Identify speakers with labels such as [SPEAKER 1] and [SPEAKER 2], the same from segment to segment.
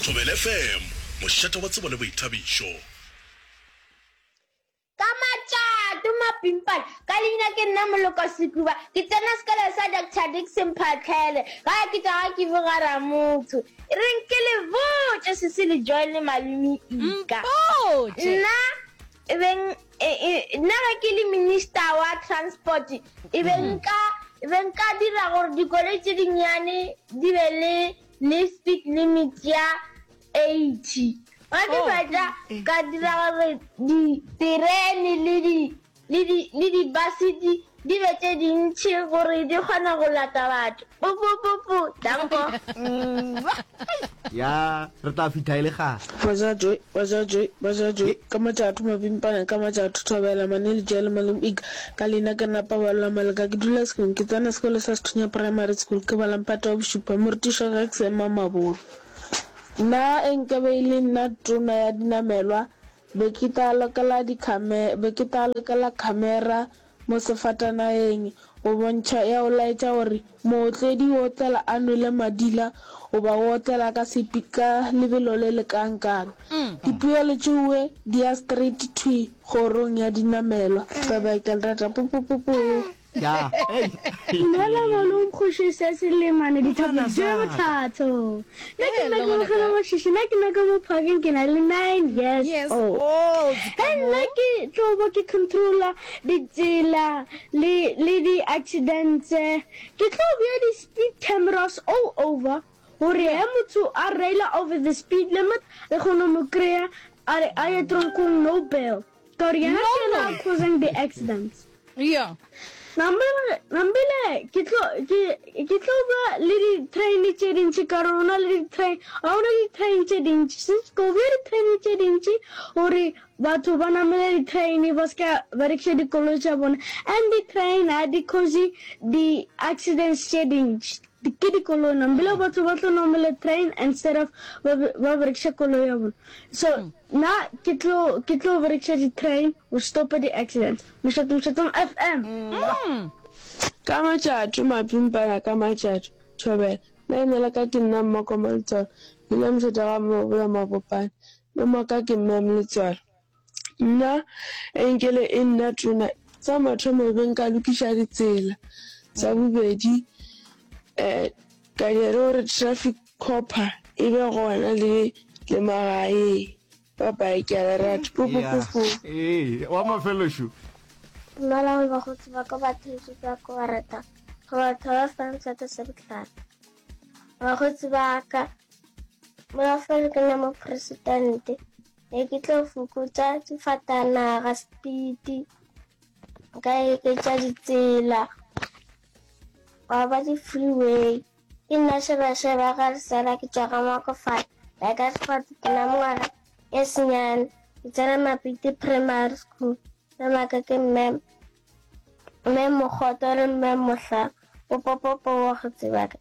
[SPEAKER 1] Thobela FM, mošate wa tsebo le boithabišo.
[SPEAKER 2] Ka matšato mapimpana, ka leina ke nna Moloko Sekuba, ke tsena sekolo sa Doctor Dickson Phatlhele, gae ke tšwa ga Kivu ga Ramotho. E reng ke le botše Sesi le Joy le Malome Ika.
[SPEAKER 3] Mpotše.
[SPEAKER 2] Nna e beng e, e, nna ge ke le minister wa transport e be nka e be nka dira gore dikoloi tše dinnyane di be le le speed limit ya 80. Ge ke fetša ka dira gore diterene le di le di le dibase di di be tše dintši gore di kgone go lata batho. Pupupupu, danko.
[SPEAKER 4] Ya, re tla fihla e le kgale.
[SPEAKER 5] Baja joy, baja joy, baja joy, Ka matšatho mapimpana, ka matšatho thobela, Maneli Jele Malome Ika, Ka leina ke nna Paballo Maleka, ke dula Sekong, ke tsena sekolo sa Sethunya Primary School, ke bala mphato wa bošupa, morutiši wa ka ke Sema Mabolo. Nna e nkabe e le nna tona ya dinamelwa, be ke tla lokela dikhame, be ke tla lokela khamera mo sefatanaeng go bontšha ya go laetša gore mootledi o otlela a nwele madila goba o otlela ka sepi ka lebelo le le kangkang. Dipoelo tšeoe di ya straight thwi kgorong ya dinamelwa. Bye bye ke a le rata. Pupupupu.
[SPEAKER 4] Ya, hey.
[SPEAKER 6] Dumela malome Kgoši se se lemane dithapo tše bothata. Nna ke nna ke bogela mašiši nna ke nna ka mo parkeng ke na le 9 years
[SPEAKER 3] Yes,
[SPEAKER 6] old.
[SPEAKER 3] old
[SPEAKER 6] Ge nna ke tlo ba ke controller ditsela le le di accidents ke tlo bea di speed cameras all over gore ge motho a reila over the speed limit re kgone go mo kry-a a re a ye tronkong no bail. Ka gore yena ke yena a causing the accidents.
[SPEAKER 3] Yeah.
[SPEAKER 6] Nambile, nambile ke tlo ke ke tlo ba le di train tše dintši ka gore ona le di train ga ona di train tše dintši since ko bea di train tše dintši gore batho ba namele di train ba ska berekiša dikoloi tša bona and di train ha di cause di accidents tše dintši ke dikoloi nambile batho ba tlo namela train instead of ba ba berekiša koloi ya bona so Nna ke tlo ke tlo berekiša di train go stopa di accidents. Mošate Mošatong FM.
[SPEAKER 5] Ka matšatšo mapimpana ka matšatšo Thobela, nna leina la ka ke nna Mmakoma Letswalo, ke dula mošate ga Mmabola Mabopane, mme wa ka ke Ma'am Letswalo. Nna enkele e nna tona, sa mathomo e be nka lokiša ditsela, sa bobedi um ka dira gore traffic Copper e be gona le le magaeng. Bye bye ke a le rata. Pu pu pu pu.
[SPEAKER 4] Ee, wa mafelelo šo.
[SPEAKER 7] Dumelang bakgotsi ba ka batheetši ba ka ba rata go batho ba fang seatla se bohlale. Bakgotsi ba ka molafelo ke nna mopresidente ne ke tlo fokotša difatanaga speed nka eketša ditsela gwa ba di-freeway Ke nna Šebešebe ga Lesela ke tšwa ga Makofane Lycasford ke na mengwaga e senyane ke tsena Mapiti Primary School mme maka ke mme mme Mokgoto le mme Mohla popopopo wa go tseba ka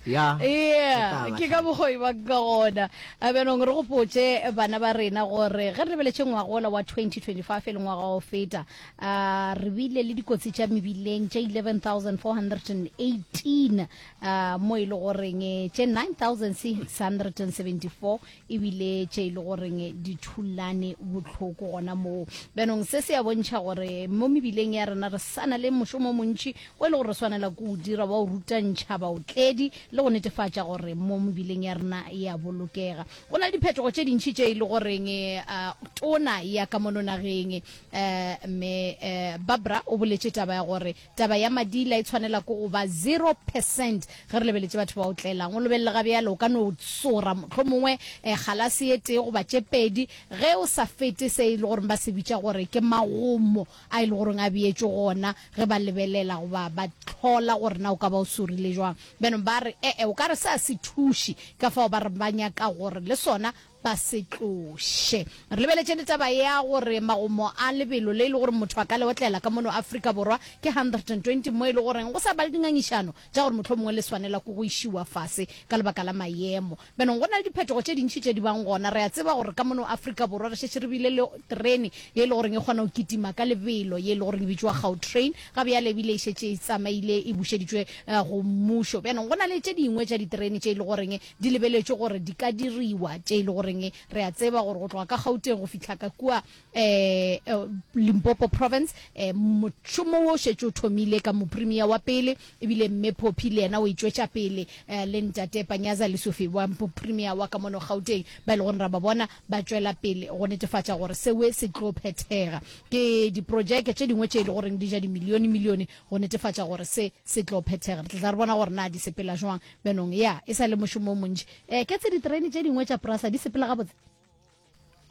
[SPEAKER 4] ya
[SPEAKER 3] yeah ke ka bokgoi ba ka gona A bjanong re gopotše bana ba rena gore ge re lebeletše ngwagola wa 2025 e le ngwaga wa go feta a re bile le dikotsi tša mebileng tše 11418 a mo e le goreng eh, tše 9674 ebile tše e le goreng di thulane bohloko gona moo bjanong se se a bontšha gore mo mebileng ya rena re sana le mošomo o montši o e le gore re swanela ke o dira wa o rutantšha baotledi le go netefatša gore mo mebileng ya rena e a bolokega go na le diphetogo tše dintši tše e le goreng uh, tona ya ka mono nageng uh, mme uh, Barbara o boletše taba ya gore taba ya madila e tshwanela ke go ba 0 percent ge re lebeletše batho ba otlelang o lebelele ga bjale o ka no tsora mohlomongwe eh, galase e tee goba tše pedi ge o sa fete se e le goreng ba se bitša gore ke magomo a e le goreng a beetšwe gona ge ba lebelela goba ba hlola gore na o ka ba o sorile jwang. Bjanong ba re, E-e, o ka re se a se thuše, ka fao ba re ba nyaka gore le sona ba se tloše. Re lebeletše le taba ya gore magomo a lebelo le e le gore motho a ka le otlela ka mono Afrika Borwa ke 120 mo e le goreng go sa ba le dingangišano tša gore mohlomongwe le swanela ke go išiwa fase ka lebaka la maemo. Bjanong go na le diphetogo tše dintši tše di bang gona. Re a tseba gore ka mono Afrika Borwa re šetše re bile le terene ye e le goreng e kgona go kitima ka lebelo ye e le goreng e bitšwa Gautrain. Ga bjale ebile e šetše e tsamaile e bušeditšwe go mmušo. Bjanong go na le tše dingwe tša diterene tše e le goreng di lebeletšwe gore di ka diriwa tše e le goreng re a tseba gore go tloga ka Gauteng go fihla ka kua um Limpopo Province um mošomo wo o šetše o thomile ka mopremia wa pele ebile mme Phophi le yena o e tšwetša pele um le ntate Panyaza Lesufi wa mopremia wa ka mono Gauteng ba e le gore ra ba bona ba tšwela pele go netefatša gore sewe se tlo phethega. Ke diprojeke tše dingwe tše e le goreng di ja dimilione milione go netefatša gore se se tlo phethega. Re tla tla re bona gore na di sepela jwang. Bjanong ya e sa le mošomo o montši. Um ke tse diterene tše dingwe tša Prasa di sepela gabotse?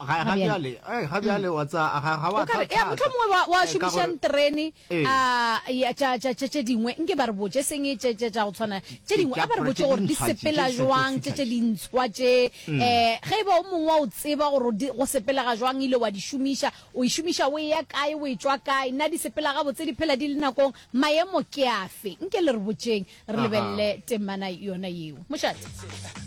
[SPEAKER 4] Ga ga bjale, eh ga bjale wa tsa ga ga wa
[SPEAKER 3] tsa. Ya mohlomongwe wa wa šomišang terene a ya tša tša tše dingwe nke ba re botše seng tše tše tša go tshwana tše dingwe a ba re botše gore di sepela jwang tše tše dintshwa tše eh ge e ba o mongwe wa o tseba gore go sepelega jwang ile wa di šomiša o e šomiša o e ya kae o e tšwa kae na di sepela gabotse di phela di le nakong maemo ke afe nke le re botšeng re lebelele temana yona yeo mošate.